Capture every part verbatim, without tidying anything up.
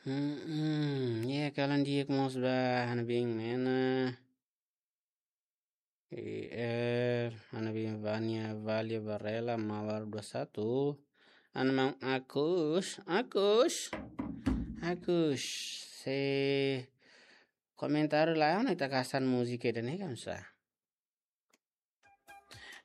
Hmm, hmm, ya, kalan di'ak mós ba Hanabin Mena. E, eh, Hanabin Vania Valia Varela Mawar dua satu. Ana maun Agus, Agus, Agus. Se komentáriu la, ona ita kasan múzika ida-ne'e kan sa.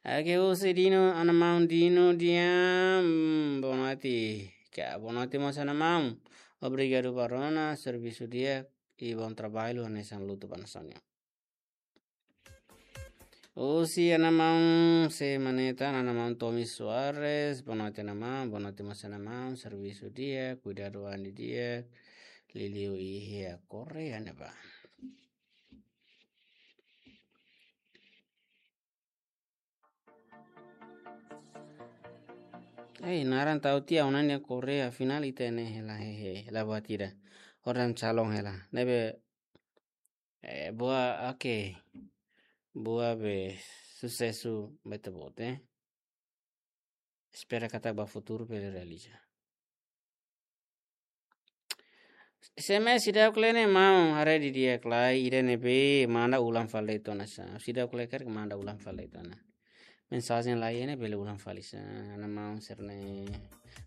Oke, husi Dino, ana maun Dino diam, boa noite. Ka, boa noite mós ana maun. Obrigadu ba rona, servisu di'ak, i bom trabalho, hanesan lutu ba nasaun nian. Husi ana maun, se maneta, ana maun Tommy Soares, boa noite ana maun, boa noite mós ana maun, servisu di'ak, kuidadu an di'ak, liuliu iha Korea ne'ebá. Ei, naran tau tiha ona nia Korea, afinál ita ne'e hela hehe, hela buat ida. Orang calon hela. Ne'ebé, eh, buat, oke. Buat be susesu bete bote. Espera katak ba futuru bele realiza. S M S seidauk lee ne'e maun, haree didi'ak lai, ida ne'ebé manda ulang fali de'it ona sa. Seidauk lee karik manda ulang fali de'it ona. Mensajen lai ne'e bele ulang fali sa. Ana maun sira-ne'e.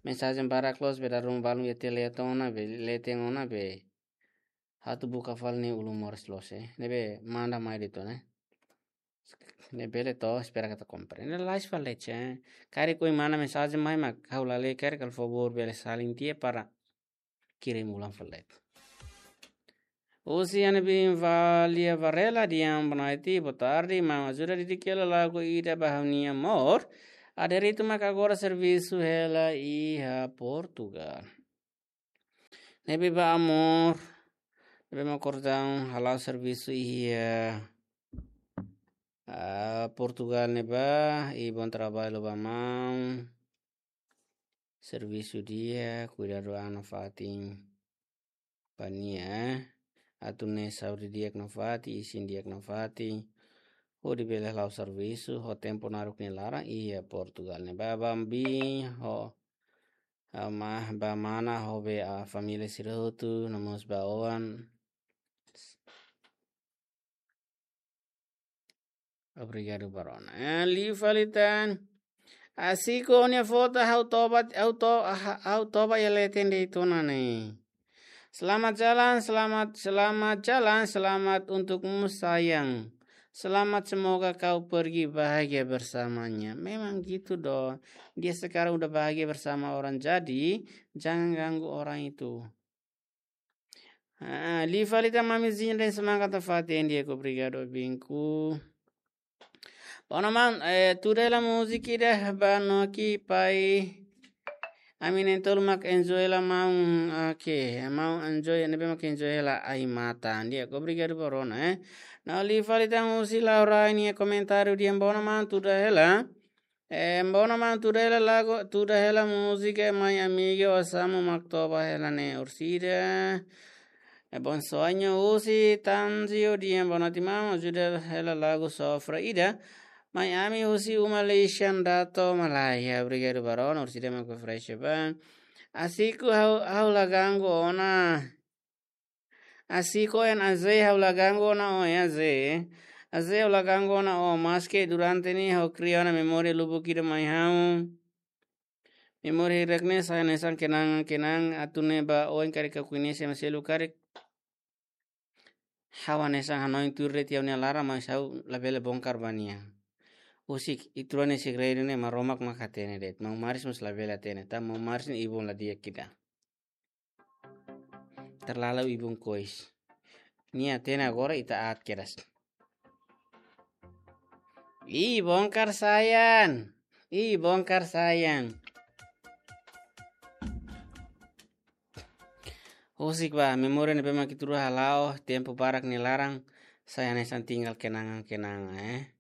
Mensajen barak loos be dala ruma balun iha tiha lee de'it ona, be lee de'it ona be. Atu buka fali ne'e ulun moras loos, eh. Ne'ebé manda mai de'it ona, eh. Ne'e bele to'o, espera katak komprende. Ne'e lais fali de'it, eh. Karik ohin manda mensajen mai mak ha'u la lee karik, halo favór bele salin tiha para kirim ulang fali de'it. Husi Hanabin Valia Varela diam, boa noite, boa tarde, maun ajuda didik hela lagu ida ba ha'u-nia amór. Aderito mak agora servisu hela iha Portugal. Ne'ebé ba amór, ne'ebé mak kordão hala'o servisu iha, ah, Portugal ne'ebá, i bom trabalho ba maun. Servisu di'ak, kuidadu an nafatin ba nia. Atu nune'e saúde di'ak nafatin, isin di'ak nafatin. Hodi bele hala'o servisu, ho tempu naruk nia laran, iha Portugal ne'ebá. Bambin, ho, ah, ma, ba mana, ho be, ah, família sira hotu, no mós ba oan. Obrigadu ba rona. Eh, liu fali tan. Asiko nia foto ha'u toba, ha'u to-, ha-, ha'u toba iha leten de'it ona ne'e. Selamat jalan, selamat, selamat jalan, selamat untukmu sayang. Selamat, semoga kau pergi bahagia bersamanya. Memang gitu dong. Dia sekarang udah bahagia bersama orang, jadi jangan ganggu orang itu. Ah, liu fali tan Mami Zinha, semangat nafatin di'ak, obrigadu binku. Bom, maun, eh, tuda hela múzika ida ba noki pai. Ami na'in-tolu mak enjoy hela maun, oke, maun enjoy, ne'ebé mak enjoy hela ai-matan. Di'ak, obrigadu ba rona, eh. No liu fali tan husi Laura nia komentáriu diam, bom, maun, tuda hela. Eh, bom, maun, tuda hela lagu, tuda hela múzika Mai Amiga, osan mak toba hela ne'e orsida. Eh, Bom Sonho husi Tanzio diam, boa noite maun, ajuda hela lagu sofra ida. Mai Ami husi uma lixan dato Malaya, obrigadu ba rona, orsida mak fresh ba. Asiko ha'u, ha'u la ganggu ona. Asiko en Aze, ha'u la ganggu ona ó, en Aze. Aze, ha'u la ganggu ona ó, maske durante ne'e ha'u kria ona memória lubuk ida mai ha'u. Memória hirak ne'e sai hanesan kenangan-kenangan, atu nune'e ba oin karik ha'u koñese ema seluk karik. Ha'u hanesan hanoin tuir de'it iha ó-nia laran, mas ha'u labele bongkar ba nia. Husik, ita rua nia segredu ne'e Maromak mak hatene de'it. Maun Maris mós labele hatene, tanba Maun Maris ne'e ibun la di'ak ida. Terlalu ibun kois. Nia hatene agora, ita aat kedas. Ih, bongkar sayang. Ih, bongkar sayang. Husik ba, memória ne'ebé mak ita rua hala'o tempu barak nia laran, sai hanesan tinggal kenangan-kenangan, eh.